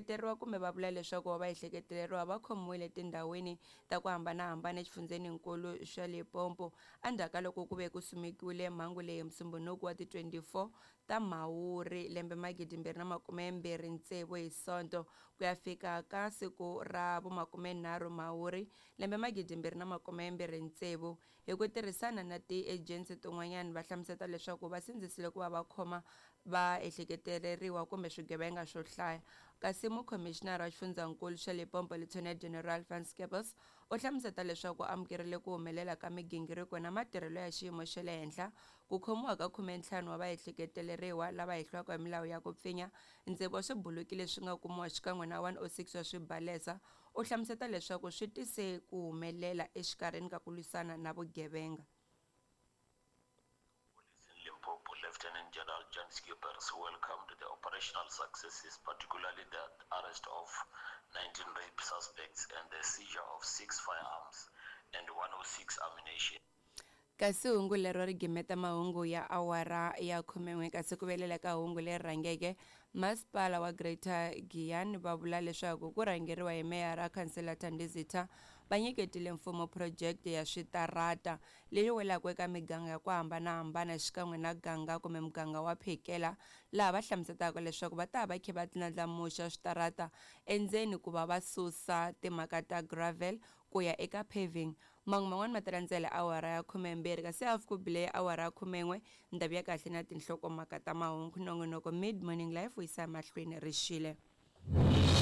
Vaehleketeriwa kumbe va vula leswaku va vaehleketeleriwa va khomiwile etindhawini ta ku hambanahambana exifundzheninkulu xa Limpopo endzhaku ka loko ku ve ku simekiwile mhangu leyi hi Musumbhunuku wa ti 24 ta Mhawuri lembe 2026 hi Sonto ku ya fika ka siku ra vu 30 Mhawuri lembe 2026. Hi ku tirhisana na tiejensi tin'wanyana va hlamuseta leswaku va sindzisile ku va va khoma vaehleketeleriwa kumbe swigevenga swo hlaya. Kasi mukhomixinara wa xifundzankulu xa Limpopo Lieutenant General Van Scheepers u hlamuseta leswaku u amukerile ku humelela ka migingiriko na matirhelo ya xiyimo xa le henhla ku khomiwa ka khumentlhanu wa vaehleketeleriwa lava hehliwaka hi milawu ya ku pfinya, ntsevu wa swibuluki leswi nga kumiwa xikan'we na 106 wa swibalesa. U hlamuseta leswaku swi tise ku humelela exikarhini ka ku lwisana na vugevenga. Police in Limpopo, Lieutenant General Jan Scheepers welcomed the operational successes, particularly the arrest of 19 rape suspects and the seizure of six firearms and 106 ammunition. Kasi hungu lero ri gimeta mahungu ya awara ya khumen'we kasi ku velela ka hungu leri rhangeke masipala wa Greater Giyani va vula leswaku ku rhangeriwa hi meyara Khansela Thandi Zitha va nyiketile mfumo phurojeke ya switarata leyi welaka eka miganga ya ku hambanahambana xikan'we na ganga kumbe muganga wa Phekela laha va hlamusetaka leswaku va ta va khe va ndlandlamuxa switarata endzeni ku va va susa timhaka ta gravel ku ya eka paving. Mahungu man'wana ma ta landzela awara ya khumembirhi kasi hafu ku bile awara ya khumen'we ndhawu ya kahle na tinhlokomhaka ta mahungu. Nongonoko Mid Morning Live wu yisa emahlweni ri xile.